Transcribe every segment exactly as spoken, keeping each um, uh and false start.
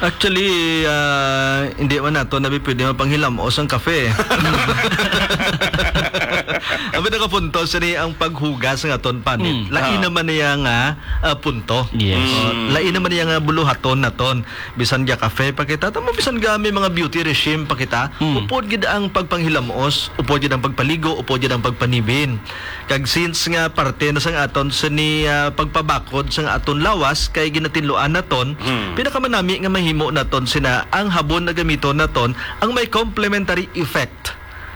Actually, ah, hindi man nato na pwede mapanghilam-os ang kafe. Ang pinakapunto, sini ang paghugas ng aton panit. Mm. Lain Ah. naman niya nga, ah, punto. Yes. Oh, Mm. lain naman niya nga buluhaton naton. Bisan ga kafe pa kita, tamo bisan ga may mga beauty regime pa kita, Mm. upod gid ang pagpanghilam-os, upod gid ang pagpaligo, upod gid ang pagpanibin. Kag since nga parte na sang aton sini, ah, pagpabakod sang aton lawas kay ginatinluan naton, Hmm. pinakamanami nga mahimo naton sina ang habon na gamiton naton ang may complementary effect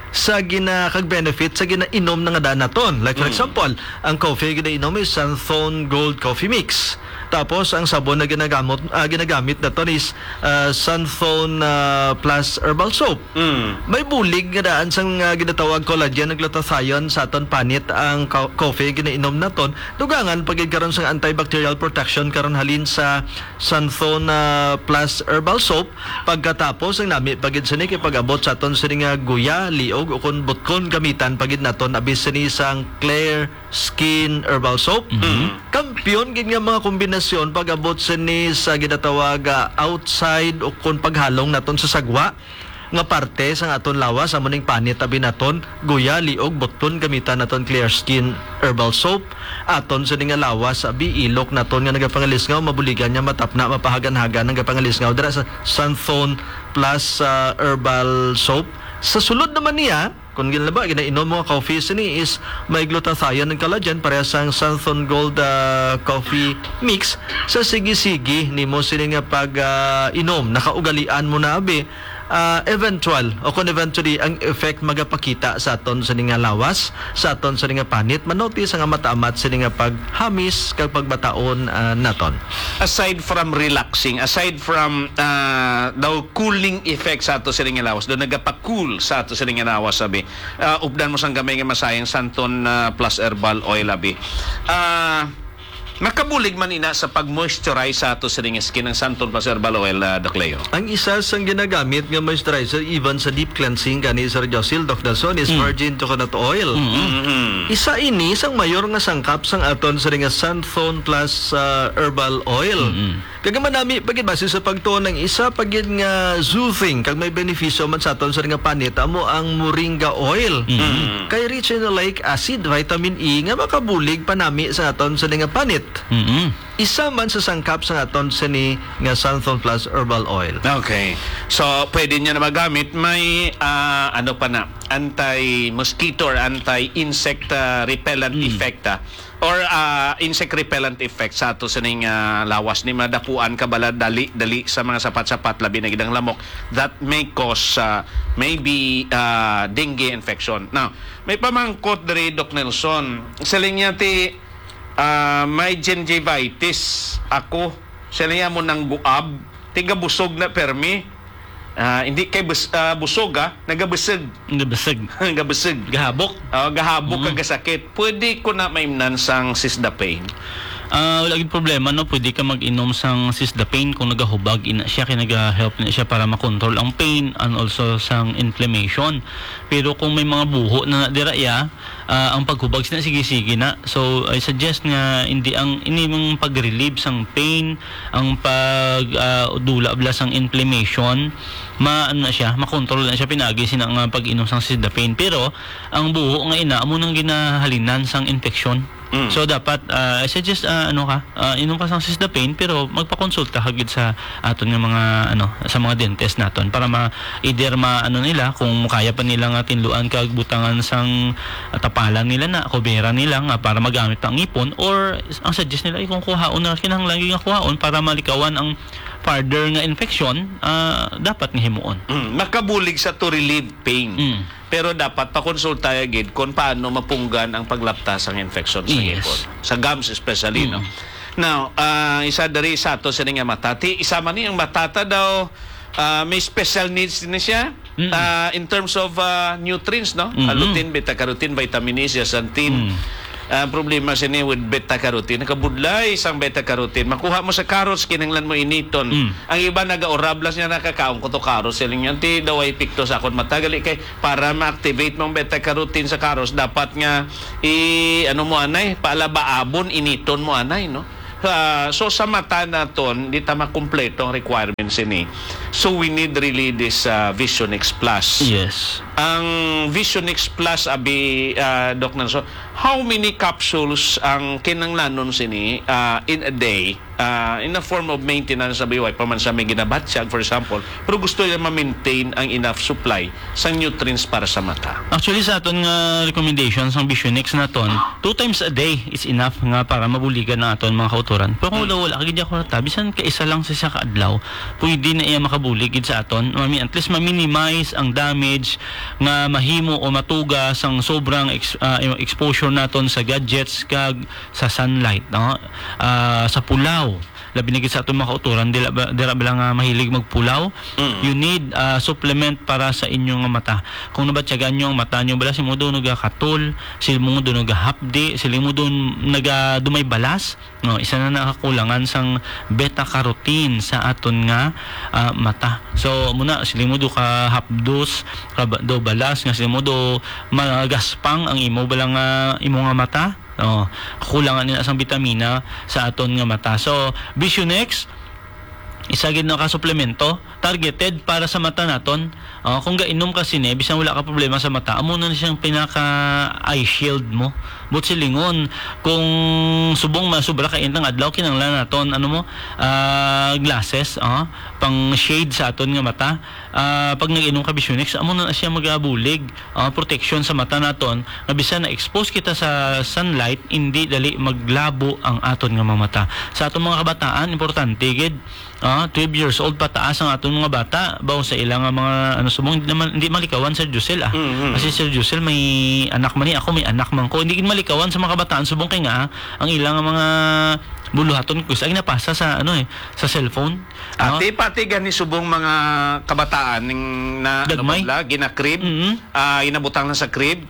sa gina-, kag benefit sa ginainom na nga daan naton. Like, for Hmm. example, ang coffee ginainom is Santhon Gold Coffee Mix. Tapos, ang sabon na ginagamot, ah, ginagamit naton is, ah, Santhon, ah, Plus Herbal Soap. Mm. May bulig nga daan sang, ah, ginatawag collagen ug glutathione sa aton panit ang co-, coffee ginainom naton. Dugangan pa gid karon sang antibacterial protection karon halin sa Santhon, ah, Plus Herbal Soap. Pagkatapos, ang nami pa gid sini kay pag-abot sa aton sini nga guya, liog, o kon butkon, gamitan pa gid naton abi sini sang Clear Skin Herbal Soap. Mhm. Kampiyon gid nga mga kombinasyon pag-abot sini sa ginatawag, ah, outside o kon paghalong naton sa sagwa nga parte sang aton lawas, amo ning panit abi naton, guya, liog, butlon, gamitan naton Clear Skin Herbal Soap. Aton sini nga lawas abi, ilok naton nga nagapangalisngaw, mabuligan niya matapna, mapahagan-hagan ang gapangalisngaw dira sa Santhon Plus, ah, Herbal Soap. Sa sulod naman niya, kung ginlaba, ginainom mo nga coffee sini is may glutathione and collagen, pareha sang Santhon Gold, ah, Coffee Mix. Sa sige-sige nimo sini nga pag, ah, inom, nakaugalian mo na abi, ah, eventual o kung eventually ang effect magapakita sa aton sini nga lawas, sa aton sini nga panit, manotis nga mataamat sini nga paghamis kag pagbataon, ah, naton. Aside from relaxing, aside from, ah, daw cooling effect sa ato sini nga lawas, daw nagapa-cool sa ato sini nga lawas, sabi. Ah, updan mo sang gamay nga masayang Santon, ah, Plus Herbal Oil, abi. Ah, makabulig man ina sa pag-moisturize sa ato sining skin ang Santon Plus Herbal Oil, ah, Doc Leo? Ang isa sang ginagamit nga moisturizer even sa deep cleansing gani, Sir Josil, Doc Nelson, is Mm. virgin coconut oil. Mm-mm. Mm-hmm. Isa ini sang mayor nga sangkap sang aton sining Santon Plus, ah, Herbal Oil. Mm-mm. Kag manami pa gid, base sa pagtuon, ang isa pa gid nga soothing kag may benepisyo man sa aton sir nga panit amo ang moringa oil. Mm. Mm. Kay rich in oleic acid, vitamin E nga makabulig panami sa aton sini nga panit. Mm. Isa man sa sangkap sa aton sini nga Santhon Plus Herbal Oil. Okay. So, pwede niya na magamit. May, ah, ano pa na, anti-mosquito or anti-insect, ah, repellent Mm. effect, ah. Or, ah, insect repellent effect sa ato sining, ah, lawas ni madapuan ka bala dali-dali sa mga sapat-sapat, labi na gid ang lamok, that may cause, ah, maybe, ah, dengue infection. Now, may pamangkot diri, Doc Nelson. Siling niya ti, ah, may gingivitis ako. Siling niya mo nang guab. Tigabusog na permi. Ah, hindi kay bus-, ah, busog, ah, nagabusog. Nagabusog. Nagabusog. Gahabok. Ah, gahabok Mm. kag gasakit. Pwede ko na maimnan sang Sisdapane? Ah, wala gid problema, no? Pwede ka mag-inom sang Sisdapane kung nagahubag ina siya, kay naga-help na siya para makontrol ang pain and also sang inflammation. Pero kung may mga buho na, na dira iya, ah, ang paghubag sina sige-sige na. So, I suggest nga hindi ang, ini ang pag-relieve sang pain, ang pag, ah, dula bala sang inflammation, ma-, ano na siya, makontrol na siya pinaagi sina nga pag-inom sang Sisdapane. Pero ang buho nga ina amo nang ginahalinan sang infeksyon. Mm. So, dapat, ah, I suggest, ah, ano ka, ah, inom ka sang Sisdapane, pero magpakonsulta ka gid sa aton nga mga, ano, sa mga dentist naton para ma-, either ma-, ano nila, kung kaya pa nila nga tinluan kag butangan sang, ah, tapalan nila na, kubera nila nga para magamit pa ang ngipon, or ang suggest nila, eh, kung kuhaon na, kinahanglan gyud nga kuhaon para malikawan ang further nga infection, ah, dapat nga himuon. Mm, makabulig sa to relieve pain. Mm. Pero dapat pakonsulta gid kung paano mapunggan ang paglapta sang infection sa Yes. ngipon. Sa gums especially, no? Mm. Now, ah, isa diri sa ato sini nga mata. Ti, isa man ni ang matata daw, ah, may special needs din siya. Mm. Ah, in terms of, ah, nutrients, no? Mm-mm. Ah, lutein, beta carotene, vitamin E, zeaxanthin. Mm. Ang problema sini with beta carotene, nakabudlay sang beta carotene. Makuha mo sa carrots, kinahanglan mo initon. Mm. Ang iba nagaurab lang siya, nakakaon ko to carrots. Siling niya, "Ti, daw ay epekto sa akon mata." Gali kay para ma-activate mong beta carotene sa carrots, dapat nga i-, ano mo anay, paalabaabon, initon mo anay, no? Ah, so sa mata naton, di ta makumpleto ang requirements ini. So we need really this, ah, Vision X Plus. Yes. Ang Vision X Plus, abi, ah, Doc Nelson, how many capsules ang kinanglanon sini, ah, in a day? Ah, in a form of maintenance, abi, wa pa man sa may ginabatyag, for example, pero gusto nila ma-maintain ang enough supply sang nutrients para sa mata. Actually, sa aton nga recommendation sang Vision X naton, two times a day is enough nga para mabuligan ang aton mga kautoran. Pero kung Mm. wala, wala ka gid ako rata, bisan ka isa lang sa isa ka adlaw, pwede na iya makabulig gid sa aton. Mami, at least ma-minimize ang damage nga mahimo o matuga sang sobrang ex-, ah, exposure naton sa gadgets kag sa sunlight, no? Ah, sa pulaw. Labi na gid sa aton mga kautoran, dira ba, dira ba lang nga mahilig magpulaw? Mm. You need, ah, supplement para sa inyo nga mata. Kung nabatyagan nyo ang mata nyo, bala, sila mo doon nagakatol, sila mo doon nagahapdi, sila mo doon naga-, dumay balas. No, isa na nakakulangan sang beta carotene sa aton nga, ah, mata. So, muna, sila mo do kahapdos, kaba-, do balas, nga sila mo do magaspang ang imo bala nga, imo nga mata. Oh, kulangan nila sang bitamina sa aton nga mata. So, Vision X, isa gid na ka suplemento targeted para sa mata naton. Oh, kung gainom ka sini, bisan wala ka problema sa mata, amo na siyang pinaka eye shield mo. But silingon, kung subong masubra ka intang adlaw, kinahanglan naton, ano mo, ah, glasses, oh, pang shade sa aton nga mata. Ah, pag nag-inom ka Vision X, amo na siya magabulig, ah, protection sa mata naton, nga bisan na-expose kita sa sunlight, hindi dali maglabo ang aton nga mga mata. Sa aton mga kabataan, importante gid, ah, twelve years old pataas ang aton mga bata, bawo sa ilang nga mga, ano, subong, hindi naman, hindi malikawan, Sir Josel, ah. Mhm. Kasi, Sir Josel, may anak man ni ako, may anak man ko. Hindi gid malikawan sa mga kabataan, subong kay nga, ah, ang ilang mga buluhaton, gusto, ay napasa sa, ano, eh, sa cellphone. Ah. Ati pati gani subong mga kabataan ning na, ano Gagmay? ba, gina-crib, Mm. ah, inabutang lang sa crib.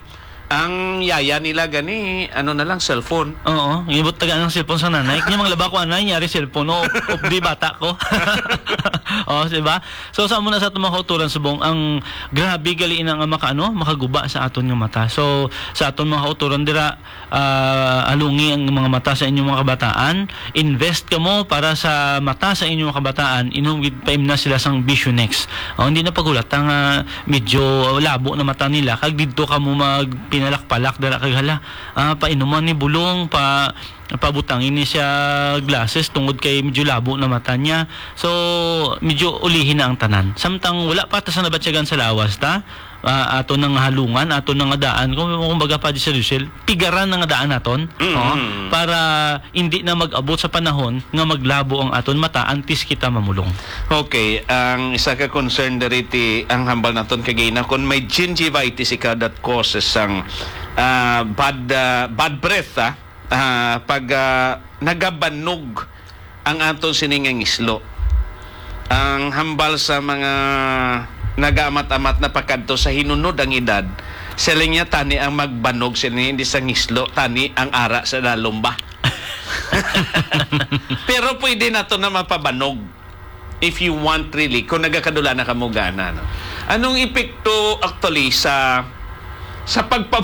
Ang yaya nila gani, ano na lang, cellphone. Oo, ngibot taga ng cellphone sa nanay. Kanya manglaba ko anay, nyari cellphone. O, of di bata ko. Oh, di ba? So, sa muna sa aton mga kauturan subong, ang grabe gali ina nga makaano, makaguba sa aton nga mata. So, sa aton mga kauturan dira, ah, alungi ang mga mata sa inyong mga kabataan. Invest kamo para sa mata sa inyong mga kabataan. Inom gid, paimna sila sang Vision X. Oh, hindi na paghulata nga medyo labo na mata nila. Kag didto kamo magpinalak-palak dala kag hala. Ah, painuman ni bulong, pa pabutangi ni siya glasses tungod kay medyo labo na mata niya. So, medyo ulihi na ang tanan. Samtang wala pa ta sa nabatyagan sa lawas ta, ah, ato nang halungan, ato nang daan, kung, kumbaga pa, Sir Rachel, pigaran ang daan naton, Mm. oh, para hindi na mag-abot sa panahon nga maglabo ang aton mata antes kita mamulong. Okay, ang isa ka concern diri ti ang hambal naton kagina, kung may gingivitis ikaw that causes ang, ah, bad, ah, bad breath, ah, ah, pag, ah, nagabanog ang aton sini nga ngislo. Ang hambal sa mga nagaamat-amat na pakadto sa hinunod ang edad, siling niya, tani ang magbanog sini hindi sa ngislo, tani ang ara sa lalom ba. Pero pwede nato na mapabanog if you want, really, kung nagakadula na kamo gana, no? Anong epekto actually sa sa pagpa-,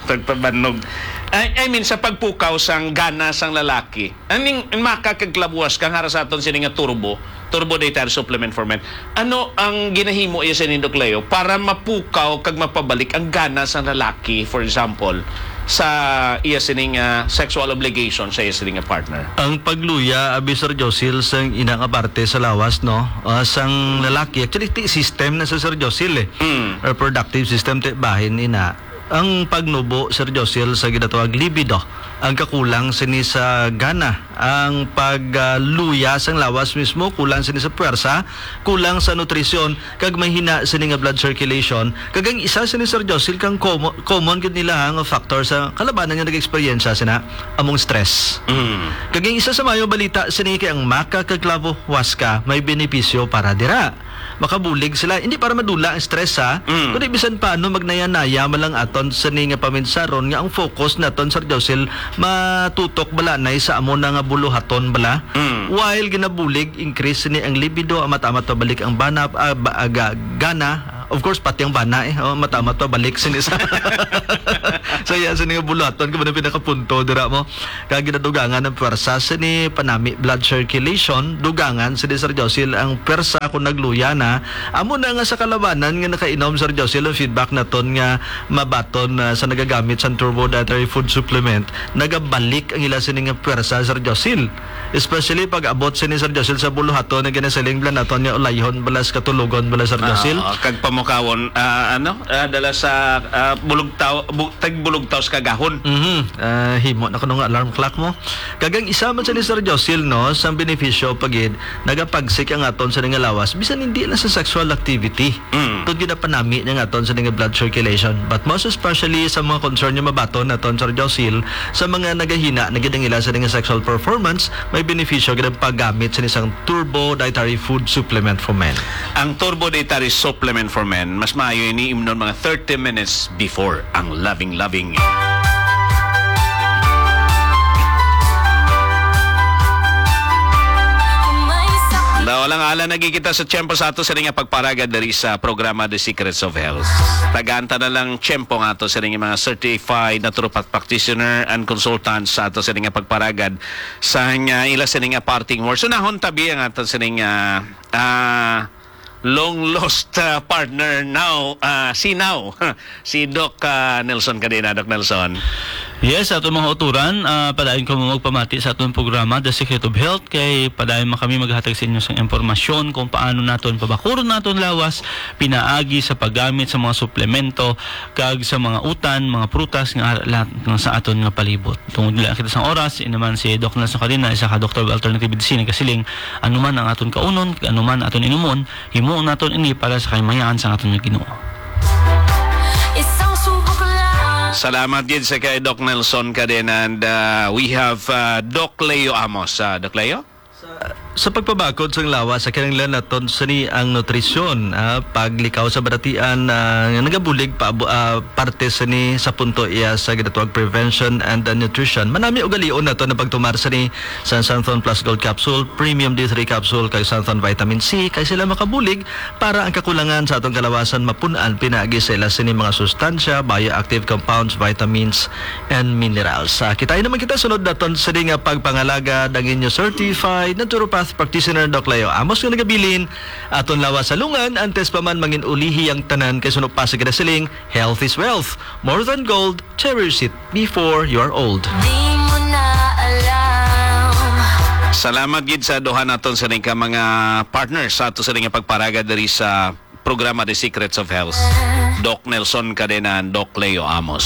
pagpabanog? I, I mean, sa pagpukaw sang gana sang lalaki. Aning makakaglabuwas kang hara sa aton sini nga turbo, turbo dietary supplement for men. Ano ang ginahimo iya sini, Doc Leo, para mapukaw kag mapabalik ang gana sang lalaki, for example, sa iya sining, ah, sexual obligation sa iya sining nga partner? Ang pagluya, abi, Sir Josil, sang ina nga parte sa lawas, no? Ah, sang lalaki, actually, ti system na sa, Sir Josil, eh. Mm. Reproductive system, ti bahin ina. Ang pagnubo, Sir Josil, sa ginatawag libido, ang kakulang sini sa gana, ang pagluya sang lawas mismo, kulang sini sa puwersa, kulang sa nutrisyon, kag mahina sini nga blood circulation. Kag ang isa sini, Sir Josil, kang common, common gid nila, ha, nga factor sa kalabanan nga nag-eksperyensya sina, among stress. Mm. Kag ang isa sa mayo balita sini kay ang maka kag clavo huasca may benepisyo para dira. Makabulig sila, hindi para madula ang stress, ha, Mm. kundi bisan paano magnaya-naya man lang aton sini nga paminsaron nga ang focus naton, Sir Josil, matutok bala nay sa amo na nga buluhaton bala. Mm. While ginabulig, increase ni ang libido, amat-amat pabalik ang bana, ah, ba-, ah, ga-, gana. Of course, pati ang bana, eh. Oh, amat-amat pabalik sini sa Sa iya sini nga buluhaton, kamo na pinakapunto dira mo. Kag ginadugangan ang pwersa sini panami blood circulation, dugangan sini, Sir Josil, ang pwersa kung nagluya na. Amo na nga sa kalabanan nga nakainom, Sir Josil, ang feedback naton nga mabaton, ah, sa nagagamit sang Turbo Dietary Food Supplement, nagabalik ang ila sini nga pwersa, Sir Josil. Especially pag abot sini, Sir Josil, sa buluhaton nga ginasiling bala naton nga ulayhon bala sa katulogon bala, Sir Josil. Ah, kag pamukawon, ah, ano, ah, dala sa, ah, bulugtaw-, bu-, tagbulugtaw sa kagahon. Mhm. Ah, himo na kuno nga alarm clock mo. Kag ang isa man sini, Sir Josil, no, sang benepisyo pa gid, nagapagsik ang aton sini nga lawas, bisan hindi lang sa sexual activity. Mm. Tungod ginapanami niya nga aton sini nga blood circulation. But most especially sa mga concern nga mabaton naton, Sir Josil, sa mga nagahina na gid ang ila sini nga sexual performance, may benepisyo gid ang paggamit sini sang Turbo Dietary Food Supplement for Men. Ang Turbo Dietary Supplement for Men, mas maayo ini imnon mga thirty minutes before ang loving-loving. Daw lang ala nagikita sa tiyempo sa ato sini nga pagparagad diri sa programa The Secrets of Health. Tagaan ta na lang tiyempo nga ato sini nga mga certified naturopath practitioner and consultants sa ato sini nga pagparagad sa nga ila sini nga parting words. Unahon tabi ang ato sini nga, ah, long lost, ah, partner now, ah, si now, si Doc, ah, Nelson Cadena. Doc Nelson. Yes, ato mga uturan, ah, padayon ko mo magpamati sa aton programa, The Secret of Health, kay padayon man kami maghatag sa inyo sang impormasyon kung paano naton pabakuron naton lawas, pinaagi sa paggamit sa mga suplemento, kag sa mga utan, mga prutas nga ara lahat nga sa aton nga palibot. Tungod lang kita sang oras, inaman si Doc Nelson Cadena, isa ka doktor of alternative medicine, nagasiling, anuman ang aton kaunon, kag anuman aton inumon, himuon naton ini para sa kahimayaan sang aton nga Ginoo. Isang subok lang. Salamat gid sa kay Doc Nelson Cadena, and, uh, we have, uh, Doc Leo Amos. Uh, Doc Leo? Sa, sa pagpabakod sang lawas, sa kinahanglan naton sini ang nutrisyon, ah, paglikaw sa baratian, ah, nga nagabulig pa, ah, parte sini sa punto iya sa ginatawag prevention and, ah, nutrition. Manami ugalion naton ang pagtumar sini sa Xanthone Plus Gold Capsule, Premium D three Capsule, kag Xanthone Vitamin C, kay sila makabulig para ang kakulangan sa atong kalawasan mapun-an pinaagi sa ila sini mga sustansya, bioactive compounds, vitamins, and minerals. Ah, kita naman kita sunod naton sini nga pagpangalagad ang inyo certified naturopath practitioner, Doc Leo Amos, nga nagabilin, aton lawas salungan, antes pa man mangin-ulihi ang tanan, kay suno pa sa ginasiling, health is wealth. More than gold, cherish it before you're old. Di mo na alam. Salamat gid sa duha naton sini ka mga partners sa ato sini nga pagparagad diri sa programa The Secrets of Health, Doc Nelson Cadena and Doc Leo Amos.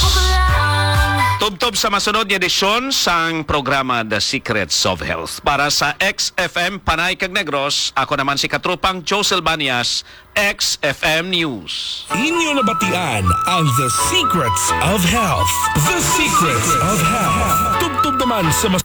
Tubtob sa masunod nga edisyon sang programa The Secrets of Health. Para sa X F M Panay kag Negros, ako naman si Katropang Josel Banias, X F M News. Inyo nabatian ang The Secrets of Health. The Secrets of Health. Tubtob naman sa mas